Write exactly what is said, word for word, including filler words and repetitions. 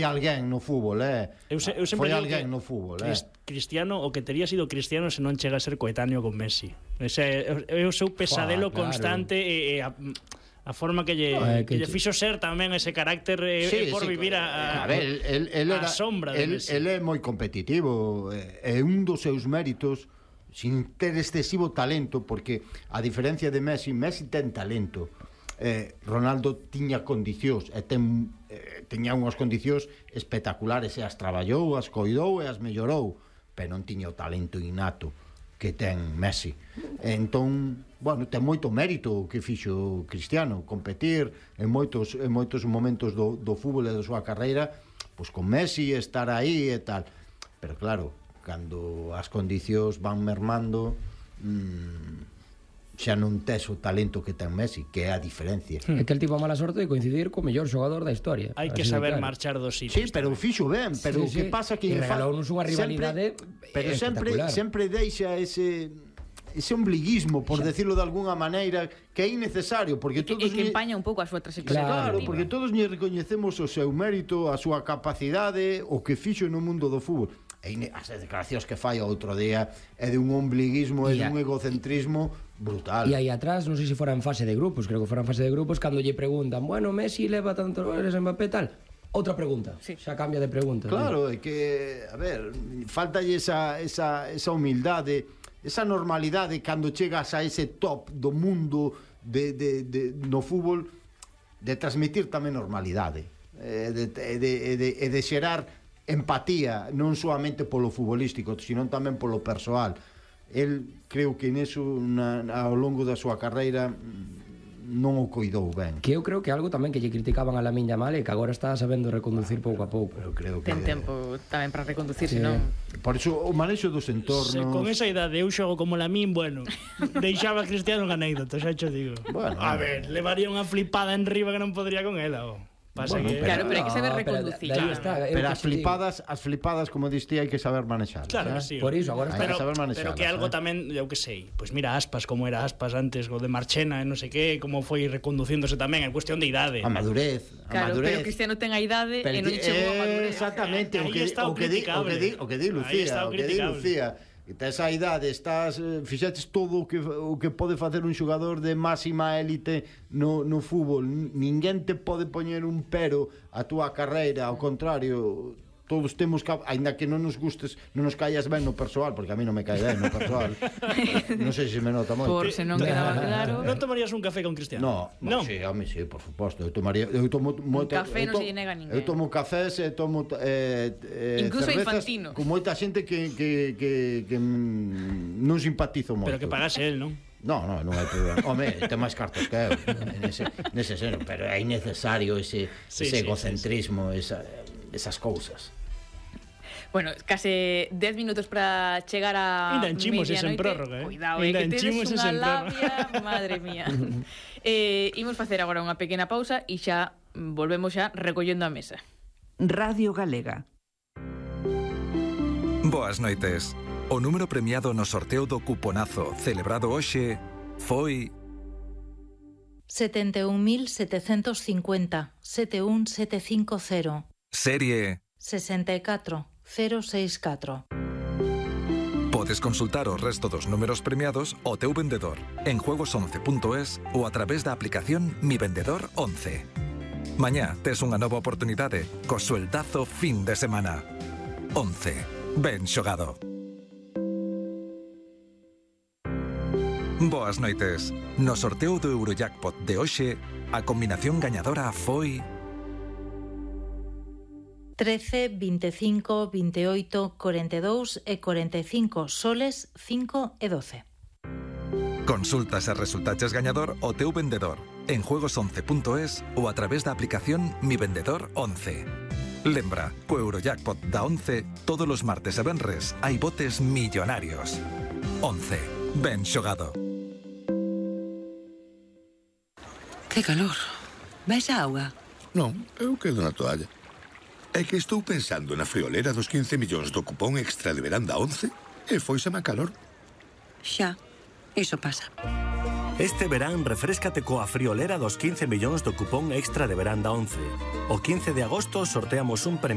alguén no fútbol, eh? Eu, se, eu sempre foi digo alguén que no fútbol, eh? Cristiano, o que tería sido Cristiano se non chega a ser coetáneo con Messi. Ese é o seu pesadelo Fua, claro. constante e, e a, a forma que lle, No, eh, que que lle che- fixo ser tamén ese carácter eh, Sí, eh, por sí, vivir a, a, a ver, el, el, el a era, sombra de el, Messi. el é moi competitivo, é un dos seus méritos sin ter excesivo talento, porque a diferencia de Messi, Messi ten talento, eh, Ronaldo tiña condicións e ten, eh, tiña unhas condicións espectaculares e as traballou, as coidou e as mellorou, pero non tiña o talento innato que ten Messi. Entón, bueno, ten moito mérito o que fixo Cristiano, competir en moitos, en moitos momentos do, do fútbol e da súa carreira, pois con Messi, estar aí e tal. Pero claro, cando as condicións van mermando, mmm, xa non tes o talento que ten Messi, que é a diferencia. É que el tivo a mala sorte de coincidir co mellor xogador da historia. Hai que Así de saber claro. marchar dos Sí, sitios. pero fixo ben, pero o Sí, que sí. pasa que E regalounos unha rivalidade sempre, pero sempre espectacular. sempre deixa ese ese ombliguismo, por decirlo de alguna maneira, que é innecesario, porque E todos que lle- empaña un pouco a súa trayectoria. Claro, deportiva. porque todos lle recoñecemos o seu mérito, a súa capacidade, o que fixo no mundo do fútbol. E ine- as declaracións que fai o outro día é de un ombliguismo e E a- dun egocentrismo brutal. E aí atrás, non sei se fora en fase de grupos, creo que fora en fase de grupos, cando lle preguntan, bueno, Messi leva tantos goles en Mbappé tal, outra pregunta, Sí. xa cambia de pregunta. Claro, é que, a ver, faltalle esa, esa, esa humildade, esa normalidade cando chegas a ese top do mundo de, de, de, no fútbol, de transmitir tamén normalidade, e de, de, de, de, de xerar empatía, non solamente polo futbolístico, sino tamén polo persoal. El, creo que neso, na, ao longo da súa carreira, non o coidou ben. Que eu creo que algo tamén que lle criticaban a Lamine Yamal e que agora está sabendo reconducir pouco a pouco. Eu creo que Ten tempo tamén para reconducir, Sí. senón... por iso o manexo dos entornos. Se con esa idade eu xogo como Lamín, bueno, deixaba a Cristiano en anécdota, xa cho digo. Bueno, a ver, levaría unha flipada en riba que non podría con ela, oh. Pasa Bueno, que... Claro, pero hai que saber No, pero reconducir. de- de aí Claro. está, é o Pero que as te digo. flipadas, as flipadas, como diste, hai que saber manejar. Claro que sí. Por iso, agora Hai está... que Pero, saber manejarlas, pero que algo eh. tamén, eu que sei, pois mira Aspas, como era Aspas antes, o de Marchena, e non sei que, como foi reconducíndose tamén, é cuestión de idade. A madurez, a Claro, madurez. pero Cristiano ten a idade Pero e non ti- chegou a madurez. Exactamente, o Aí que, está o o que di, o que di, o que di criticable. Aí está Lucía, o o que di criticable. Lucía. Que tes a idade, estás, eh, fixetes todo o que, o que pode facer un xogador de máxima élite no, no fútbol. N- Ninguén te pode poñer un pero a túa carreira, ao contrario, todos temos que, aínda que non nos gustes, non nos callas ben no persoal, porque a mí non me cae ben no persoal. Non sei se me nota moito. Por se non quedaba claro. Non tomarías un café con Cristiano? No, no, sí, a mí sí, por suposto. Eu tomaría, eu tomo moita, café eu non to- se lle nega a ninguén. Eu tomo cafés e tomo eh, eh, Incluso cervezas infantino. con moita xente que que que, que mm, non simpatizo moito. Pero que pagase él, non? No, no, non hai problema. Home, ten máis cartos que eu nese, nese seno, pero é innecesario ese, Sí, sí, ese egocentrismo, esa, esas cousas. Bueno, case dez minutos para chegar a Ainda enchimos ese en medianoite. prórroga, eh? Cuidado, Ainda eh, que enchimos tedes ese unha en prórroga. labia, madre mía. eh, imos facer agora unha pequena pausa e xa mm, volvemos xa recollendo a mesa. Radio Galega. Boas noites. O número premiado no sorteo do cuponazo celebrado hoxe foi setenta e un mil setecentos cincuenta, setenta e un mil setecientos cincuenta, serie. sesenta e catro, cero seis catro. Podes consultar o resto dos números premiados ao teu vendedor en juegos once punto es ou a través da aplicación Mi Vendedor once. Mañá tes unha nova oportunidade co sueldazo fin de semana. once. Ben xogado. Boas noites. No sorteo do Eurojackpot de hoxe, a combinación gañadora foi trece, veinticinco, veintiocho, cuarenta y dos e cuarenta y cinco soles cinco e doce. Consulta se resultaches gañador o teu vendedor en juegos once punto es ou a través da aplicación Mi Vendedor once. Lembra, co Eurojackpot da once, todos os martes e venres hai botes millonarios. once. Ben xogado. Que calor. Vais a auga? Non, eu quedo na toalla. É que estou pensando na friolera dos quince millóns do cupón extra de verán da once e foiseme a calor. Xa, iso pasa. Este verán refréscate coa friolera dos quince millóns do cupón extra de verán da once. O quince de agosto sorteamos un premio